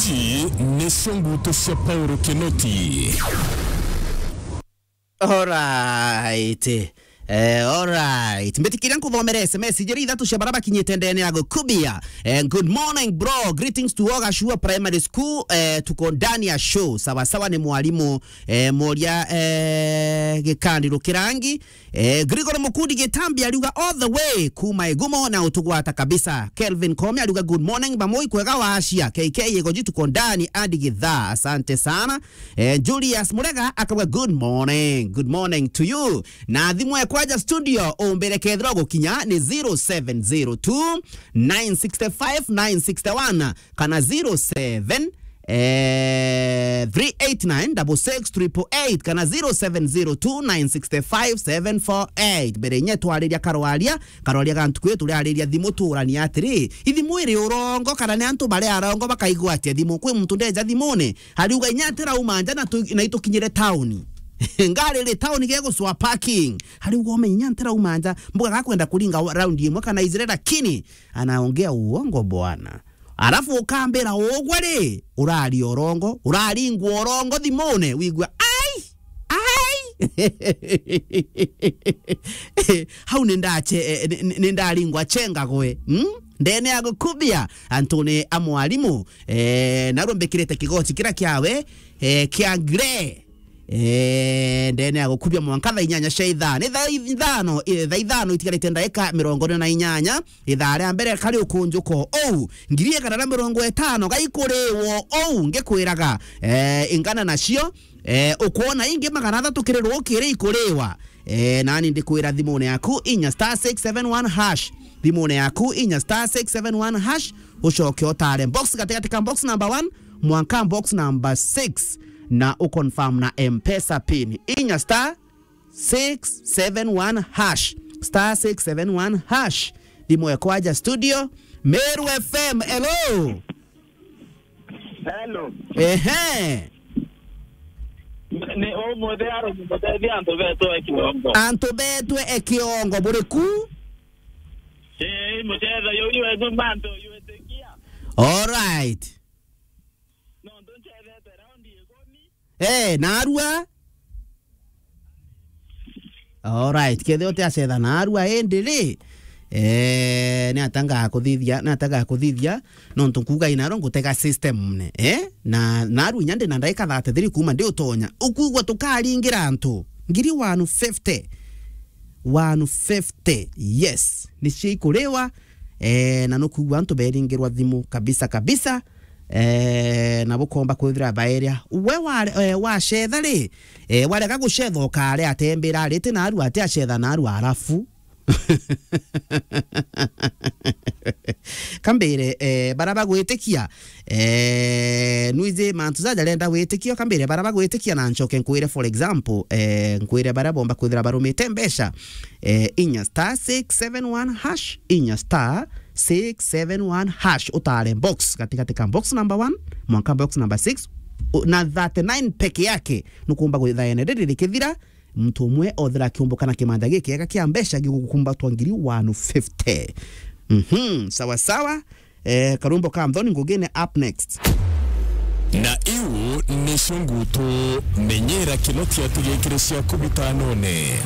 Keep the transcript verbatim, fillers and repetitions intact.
Ici nicio ngutu cia Paul Kinoti. Alright. Eh, alright. Mbitikiria nkuthomere S M S ijiri ithatu cia bara bakinyite ndene ya gukubia. Eh, good morning, bro. Greetings to all Gashua Primary School. Eh, tuko ndani ya show. Sawa sawa ni mwalimu, eh, Moria, eh, Gikandi Rukirangi. Eh, Gregory Mukundi Gitambi ariuga all the way kuma Igumo na utugwata kabisa. Kelvin Komi ariuga good morning, bamoi kwega wacia. K K Igoji tuko ndani hadi githaa. Asante sana. Eh, Julius Murega akauga good morning. Good morning to you. Na thimu ekwaja studio, umbire kethira gukinya ni zero seven zero two, nine six five, nine six one. Kana zero seven, eh, three eight nine, double six, triple eight, kana zero seven zero two, nine six five, seven four eight. Mbere nye twariria karwaria, karwaria ga ntuku ii turiariria thimu, tuurania atiri, ithimu iri urongo, kana ni antu bari arongo bakaigua atia thimu? Kwi muntu ndeja thimune, ariuga inya atirauma nja na tu-, na itukinyire tauni. Ngari ri tauni gegucwa parking. Ariuga umenye inya atirauma nja, mbuga gakwenda kuringa wa-, raundi imwe kana ijiri, lakini anaongea uongo bwana. Arafu ukambira ugwe ri, uraria urongo, uraringwa urongo thimune, wigua, "Ai! Ai!" Hau ni ndache-, eh, ni, ni, ni ndaringwa chenga gwe. Hmm? Ndene ya gukubia, antune a mwalimu, eh, narwo mbikirite kigoti kira kiawe, eh, kia grey. Eh, ndene ya gukubia mwanka thaa inyanya cia ithaa. Ni thaa ithano, eh, thaa ithano itigarite ndaika mirongo ina na inyanya. Ithaa ria mbere kari ukunjuko ou, ngiri igana na mirongo itano gaikuriwo ou, ngikwiraga, eh, ingana nacio, eh, ukwona ingi magana athatu kiri rukiri ikuriwa. Eh, nani ndikwira thimune yaku inya star six seven one hash. Thimune yaku inya star six seven one hash, ucoke utare box gatigati ka box number one mwanka box number six, na uconfirm na M-Pesa pin. Inya star six seven one hash. Star six seven one hash. Thimu ekwaja studio. Meru F M, hello. Hello. Ehe. Ni umuthi aro mutethi antu betwe ekiongo. Antu betwe ekiongo, buriku? Eh, mucetha yo yu etu mantu yu etikia. All right. No, ndu ncethete raundi ikumi. Eh, narua. All right, kethe uti acetha narua indi ri, eh, ni atangaa kuthithia, ni atangaa kuthithia, nontu nkuga inaro ngutega system ne, eh? Na narua inya ndi na ndaika thirty-three kuma ndi utonya. Ukugwa tukaringira antu ngiri one fifty. One fifty, yes. Nicio ikuriwa, eh, na nukugwa antu beringirwa thimu kabisa kabisa. Eh, na bukomba kwithira baeria. We ware-, eh, wacetha ri, eh, warega gucetha ukare atembira riti narua ati acetha narua arafu. Kambire, eh, bara bagwitikia, eh, nwiji mantu jaja renda witikio, kambire bara bagwitikia na nchoke nkwire, for example, eh, nkwire bara bomba kwithira barumite mbeca, eh, inya star six seven one hash, inya star six seven one hash, utare box, gatigati ka box number one mwanka box number six, u-, na thirty-nine peke yake, nukumba gwitha ene riri rikithira, muntu umwe othira akiumbuka na kimanja gikiega kia mbeca gigukumbatwa ngiri one fifty. Mhm, sawa sawa. Eh, karumbo ka Anthony Ngugine up next. Na iu nicio ngutu, menyera Kinoti atugikire cia kubitanone.